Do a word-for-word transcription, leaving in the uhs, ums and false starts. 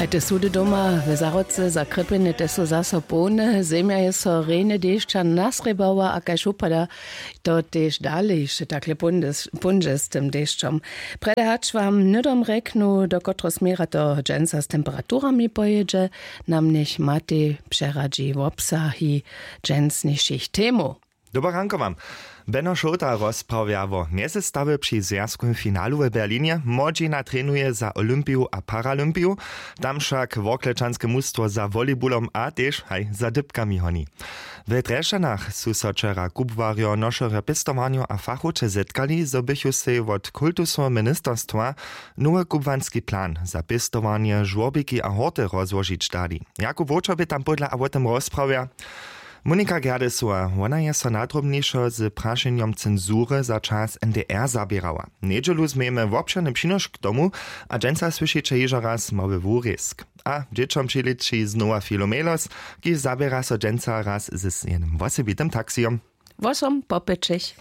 A te sudy doma w Zahrodce za krjepjenje te su zaso połne. Zemja je so rjenje dešća nasrěbała a kaž wupada, to tež dale hišće takle póńdźe z tym dešćom. Prjedy hač wam hnydom rjeknu, do kotreho směra to dźensa z temperaturami pojědźe, nam njech Matej přeradźi wobsahi dźensnišich temow. Dobre ranko wam. Beno Šołta rozprawja wo mjezestawje při zwjazkowym finalu w Berlinje. Młodźina trenuje za Olympiju a Paralympiju. Tam wšak worklečanske mustwo za volejbulom a tež haj za dypkami honi. W Drježdźanach su so wčera kubłarjo, nošerjo pěstowarnjow a fachowče zetkali, zo bychu sej wot kultusoweho ministerstwa nowy kubłanski plan za pěstowarnje, žłorbiki a horty rozłožić dali. Jakub Wowčer bě tam pódla a wo tym rozprawja. Monika Gerdesowa, wona je so nadrobnišo z prašenjom cenzury za čas N D R zaběrała. Njedźelu změjemy wobšěrny přinošk k tomu, a dźensa słyšiće hižo raz mały wurězk. A dźěćom přilěči znowa Filomelos, kiž zaběra so dźensa raz z jednym wosebitym taksijom. Wosom po pěćich.